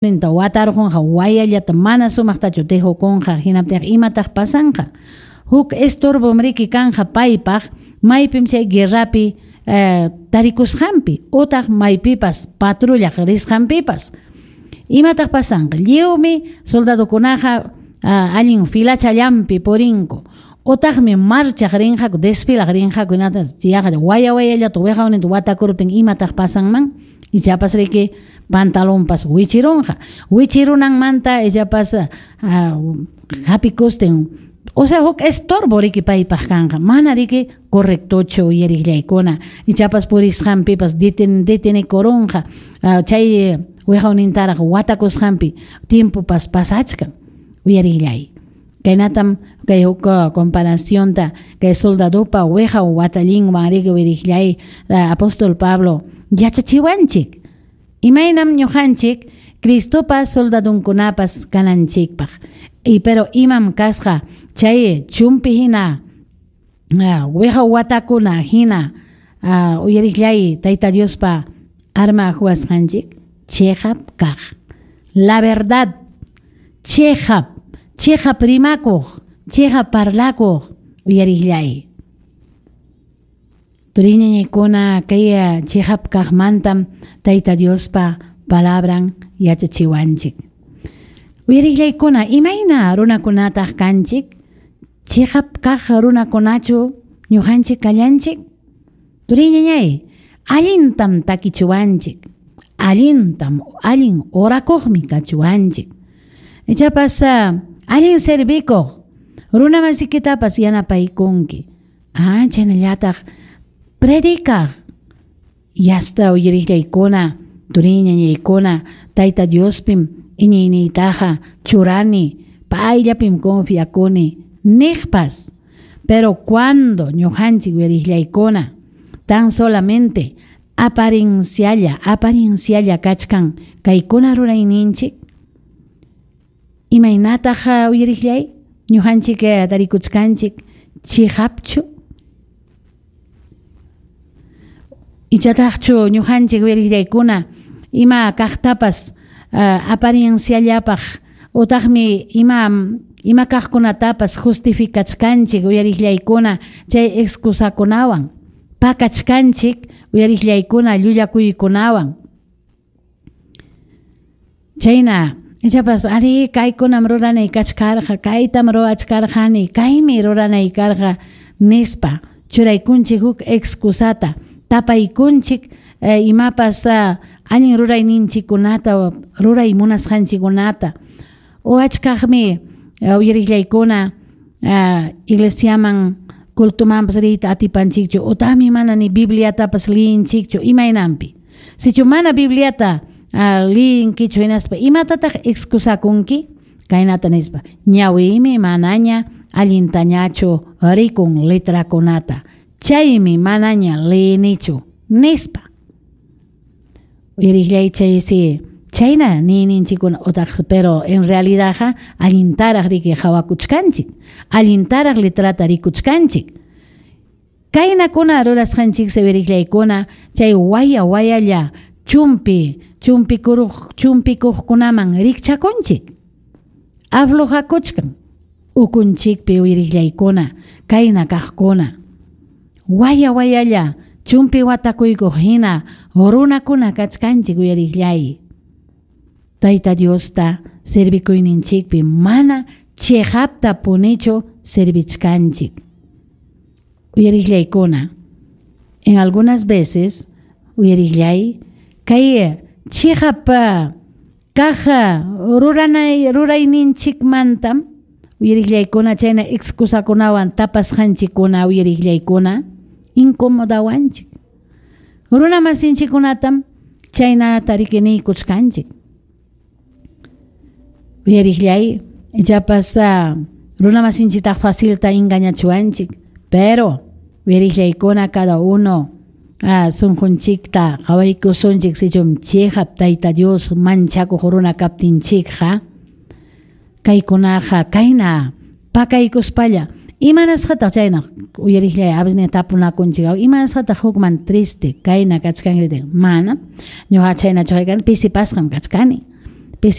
Ninta watarqunqa wayallata mana sumaqtachu tihukunqa, hinaptinqa imataq pasanqa? Huk estorbom riki kanqa paypaq maypim chay guerrapi tarikusqanpi utaq maypipas patrullaq risqanpipas. Imataq pasanqa? Lliwmi soldadokunaqa allin filachallanpi purinku utaqmi marchaq rinqaku, desfilaq rinqaku, hinataq yaqa waya wayallata wiqawninta watakuruptin imataq pasanman? Ichapas riki pantalonpas wichirunqa. Wichirunanmanta ichapas hapikustin, o sea huk estorbo riki paypaq kanqa, mana riki correctochu uyariqllaykuna. Ichapas purisqanpipas detenikurunqa, chay wiqawnintaraq watakusqanpi tiempopas pasachkan uyariqllay. Kaynatam kay huk comparacionta kay soldadopa wiqaw watallinwan riki uyariqllay apóstol Pablo yachachiwanchik. Imaynam ñuqanchik Cristopa soldadonkunapas kananchikpaq. Y pero imam kasqa chay chumpi hina wiqaw watakuna hina uyariqllay Tayta Diospa arma huwasqanchik chiqap kaq. La verdad, chiqap, chiqap rimakuq, chiqap parlakuq uyariqllay. Turiñañaykuna kay chiqap kaqmantam Tayta Diospa palabran yachachiwanchik. Uyariqllaykuna, imayna runakunataq kanchik? Chiqap kaq runakunachu ñuqanchik kallanchik? Turiñañay, allintam takichuwanchik, allintam, allin orakuqmi kachuwanchik. Ichapas allin servikuq runamasikitapas yanapaykunki. Chaynallataq predicaq yasta uyariqllaykuna, turiñañaykuna, Tayta Diospim iñiyniytaqa churani, payllapim confiakuni niqpas. Pero cuando ñuqanchik uyariqllaykuna tan solamente apariencialla, apariencialla kachkan kaykuna rurayninchik, imaynataq uyariqllay ñuqanchik tarikuchkanchik chiqapchu? Ichataqchu ñuqanchik uyariqllaykuna ima kaqtapas aparienciallapaq utaqmi ima kaqkunatapas justificachkanchik uyariqllaykuna chay excusakunawan, pakachkanchik uyariqllaykuna llullakuykunawan. Chayna ichapas ari kaykunam ruranay kachkarqa, kaytam ruwachkarqani, kaymi ruranay karqa nispa churaykunchik huk excusata, tapaykunchik imapas allin rurayninchikkunata, ruray munasqanchikkunata. O achkaqmi uyariqllaykuna iglesiaman cultumanpas riyta atipanchikchu, utaqmi mana ni Bibliatapas liyinchikchu imaynanpi. Sichu mana Bibliata liyinkichu hinaspa imatataq excusakunki? Kaynata nispa, ñawiymi manaña allintañachu rikun letrakunata, chaymi manaña liyinichu nispa. Uyariqllay chaysi chayna niyninchikkuna utaq pero en realidadqa allintaraq riki hawakuchkanchik, allintaraq letrata rikuchkanchik. Kaynakuna rurasqanchik uyariqllaykuna chay waya wayalla chumpi chumpikuqkunaman rikchakunchik. Aflojakuchkan ukunchikpi uyariqllaykuna kayna kaqkuna. Waya wayalla chumpi watakuykuq hina runakuna kachkanchik uyariqllay. Tayta Diosta servikuyninchikpi mana chiqapta punichu servichkanchik. Uyariqllaykuna, en algunas veces uyariqllay kay chiqap kaq rurayninchikmantam uyariqllaykuna chayna excusakunawan tapasqanchikkuna uyariqllaykuna incomodawanchik. Runamasinchikkunatam chaynata riki niykuchkanchik. Uyariqllay ichapas runamasinchitaq facilta engañachuwanchik, pero uyariqllaykuna cada uno sunqunchikta qhawaykusunchik sichum chiqap Tayta Dios manchakuq runa kaptinchikqa kaykunaqa kayna pakaykuspalla imanasqataq chayna uyariqllay a veces tapunakunchik imanasqataq hukman triste kayna kachkanki mana ñuqa chaynachu kani pisipasqam kachkani.